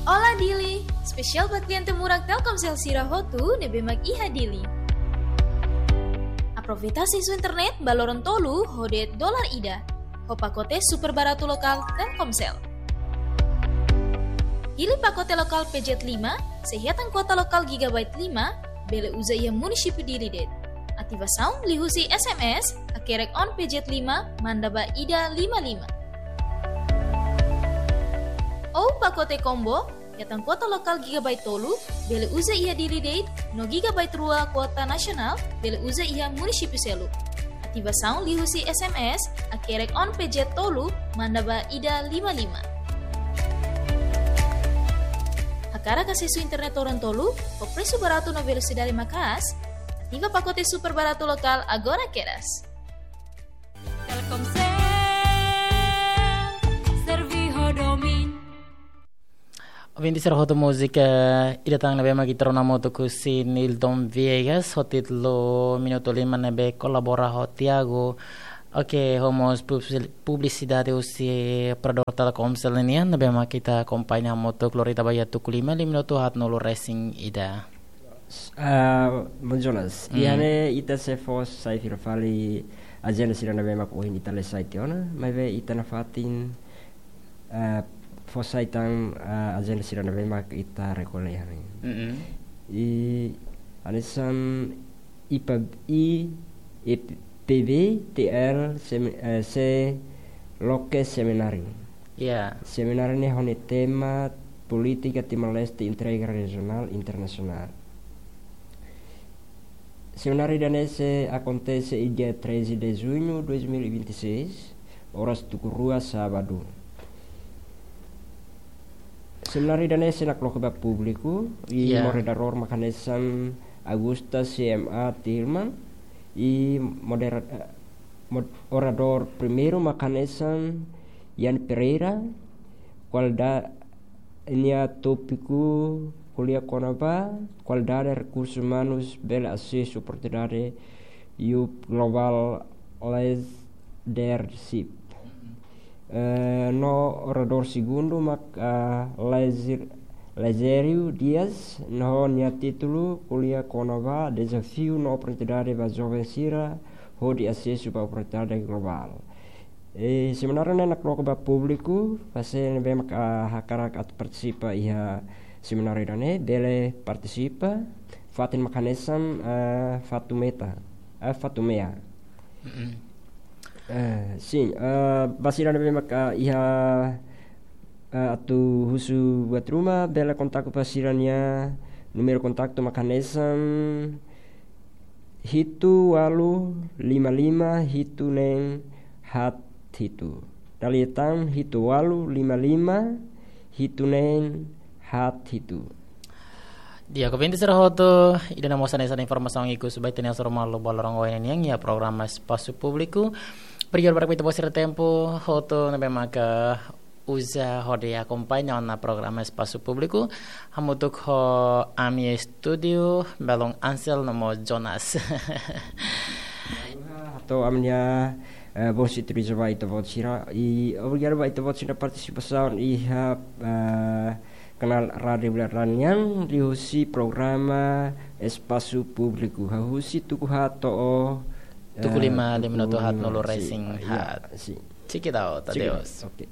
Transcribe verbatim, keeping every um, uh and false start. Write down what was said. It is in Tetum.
Olá Dili, espesiál ba kliente murak Telkomsel sira hotu ne'ebé mak iha Dili. Aproveita asesu internet ba loron tolu ho de'it dolar ida, ho pakote super baratu lokál Telkomsel. Hili pakote lokál P Z lima, sei hetan kuota lokál gigabyte lima, bele uza iha munisípiu Dili de'it. Ativasaun liuhusi S M S, hakerek on P Z lima, manda ba ida lima lima. Ou pakote combo, hetan kuota lokál gigabyte tolu, bele uza iha Dili de'it, no gigabyte rua kuota nasionál, bele uza iha munisípiu seluk. Ativasaun liuhusi S M S, hakerek on P Z tolu, manda ba ida lima lima. Hakarak asesu internet loron tolu, ho presu baratu no velosidade maka'as, ativa pakote super baratu lokál agora kedas. Telkomsel, servi ho domin. Ouvinte sira hotu, múzika ida tan ne'ebé mak ita rona hamutuk husi Nilton Viegas, ho títulu Minutu Lima, ne'ebé kolabora ho Tiago. Oke, ho mós publi-, publisidade husi operadór Telkomsel nian, ne'ebé mak ita akompaña hamutuk, lori ita ba iha tuku lima, lima minutu haatnulu resin ida. Ah, Bom Jonas, Mm. iha ne'e ita sei fó sai fila fali ajenda sira ne'ebé mak ohin ita lee sai tiha ona, maibé ita nafatin, ah, fó sai tan, ah, ajenda sira ne'ebé mak ita rekolla iha ne'e. Mm-mm. I hanesan I P B, I P B T L semi-, eh, sei loke semináriu. Ya. Semináriu ne'e ho nia tema Política Timor-Leste Entrega Regional Internacional. Semináriu ida-ne'e sei akontese iha dia treze de junho dois mil e vinte e seis, oras tuku rua sábadu. Semináriu ida-ne'e sei nakloke ba públiku, i Ya. moderadór mak hanesan Augusta C M A Tilman, i modera-, eh, mod-, oradór primeiru mak hanesan Ian Pereira, kualida-, nia tópiku ko'alia kona-ba kualidade rekursus umanus bele asesu oportunidade iha global leadership. Eh, no oradór segundu mak, ah, Lazer-, Lazério Dias, no nia títulu ko'alia kona-ba dezafiu no oportunidade ba joven sira hodi asesu ba oportunidade globál. Eh, semináriu ne'e nakloke ba públiku, fase ne'ebé mak, ah, hakarak atu partisipa iha semináriu ida-ne'e, bele partisipa, fatin mak hanesan, ah, Fatumeta, ah, Fatumea. Mm-mm. Eh, sin, eh, ba sira ne'ebé mak, ah, iha, eh, atu husu buat ruma, bele kontaktu ba sira-nia númeru kontaktu mak hanesan hitu ualu lima lima hitu neen haat hitu. Dala ida tan hitu ualu lima lima hitu neen haat hitu. Di'ak, ouvinte sira hotu, ida-ne'e mós hanesan informasaun ikus ba ita-nia hasoru malu ba loron ohin nian iha programa Espasu Públiku. Obrigadu barak ba ita-boot sira tempu hotu ne'ebé maka uza hodi akompaña ona programa Espasu Públiku. Hamutuk ho ami estúdiu, belun Ansel no mós Jonas. Hato'o ami-nia, eh, bom servisu ba ita-boot sira. I obrigadu ba ita-boot sira partisipasaun iha, eh, kanál Rádiu Bula Ranian, liuhusi programa Espasu Públiku. Hahú husi tuku haat to'o, tuku eh, lima, lima tuku minutu lima, haatnulu resin haat. Sin, ya, sin. Check it out, check it out. Adeus. Oke.